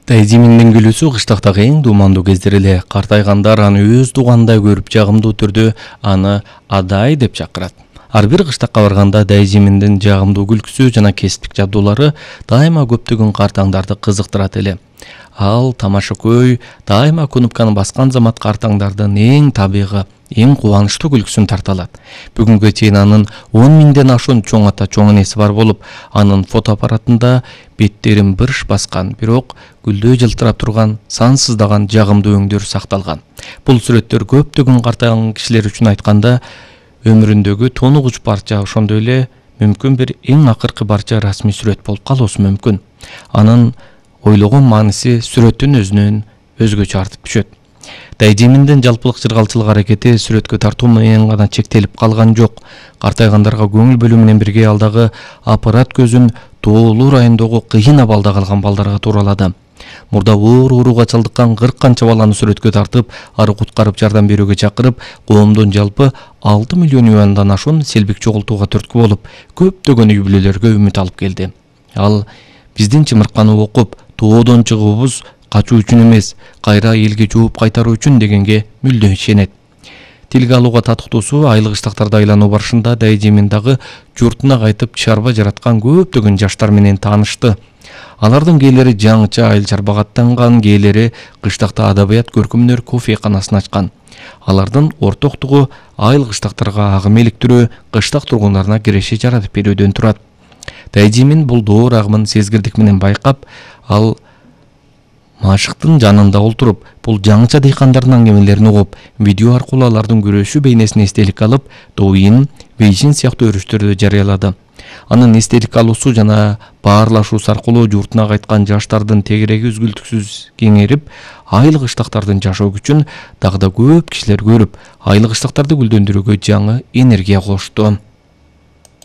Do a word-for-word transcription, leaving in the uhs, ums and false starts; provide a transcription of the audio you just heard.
Дайзиминдин күлүүсү кыштактагы эң дуумандуу кездер эле. Картайгандар аны өз туугандай көрүп, жагымдуу түрдө аны Адай деп чакырат. Ар бир кыштакка барганда Дайзиминдин жагымдуу күлкүсү жана кесиптик жабдуулары дайыма көптөгөн картаңдарды кызыктырат эле. Ал тамашакөй дайыма кнопканы баскан замат картаңдардын эң табигый, эң кубанычтуу күлкүсүн тарта алат. Бүгүнгө чейин анын он миңден ашуун чоң ата чоң энеси бар болуп, анын фотоаппаратында беттерин бырш баскан, бирок гүлдөй жылтырап турган сансыздаган жагымдуу өңдөр сакталган. Бул сүрөттөр көптөгөн картайган кишилер үчүн айтканда өмүрүндөгү тонугуч барча, ошондой эле мүмкүн бир эң акыркы барча расмий сүрөт болуп калуусу мүмкүн. Анын ойлогон мааниси сүрөттүн өзүнөн өзгөчө артып түшөт. Дайзиминдин жалпылык чыргалчылык аракети сүрөткө тартуу менен гана чектелип калган жок. Картайгандарга көңүл бөлүү менен бирге ал дагы аппарат көзүн тоолуу райондогу кыйын абалда калган балдарга тууралады. Мурда оор ооруга чалдыккан кырк канча баланы сүрөткө тартып, ары куткарып жардам берүүгө чакырып, коомдун жалпы алты миллион юандан ашуун селбик чогултууга түрткү болуп, көптөгөн үй бүлөлөргө үмүт алып келди. Ал биздин чымырканы окуп, тоодон чыгуубуз качуу үчүн эмес, кайра элге жооп кайтаруу үчүн дегенге мүлдө ишенет. Тилге алууга татыктуусу айыл кыштактарда айлануу барышында Дайзимин дагы журтуна кайтып чарба жараткан көптөгөн жаштар менен таанышты. Алардын кээлери жаңыча айыл чарбага аттанган, кээлери кыштакта адабият көркөмдөр кофейканасын ачкан. Алардын ортоктугу айыл кыштактарга агым иликтирүү, кыштак тургундарына киреше жаратып берүүдөн турат. Дайзимин бул доор агымын сезгирдик менен байкап, ал машыктын жанында олтуруп, бул жаңыча дыйкандардын аңгемелерин угуп, видео аркылуу алардын күрөшүү бейнесин эстелик алып, Douyin, Weixin сыяктуу өрүштөрдө жарыялады. Анын эстелик алуусу жана баарлашуусу аркылуу журтуна кайткан жаштардын тегереги үзгүлтүксүз кеңерип, айыл кыштактардын жашоо күчүн дагы да көп кишилер көрүп, айыл кыштактарды гүлдөндүрүүгө жаңы энергия кошту.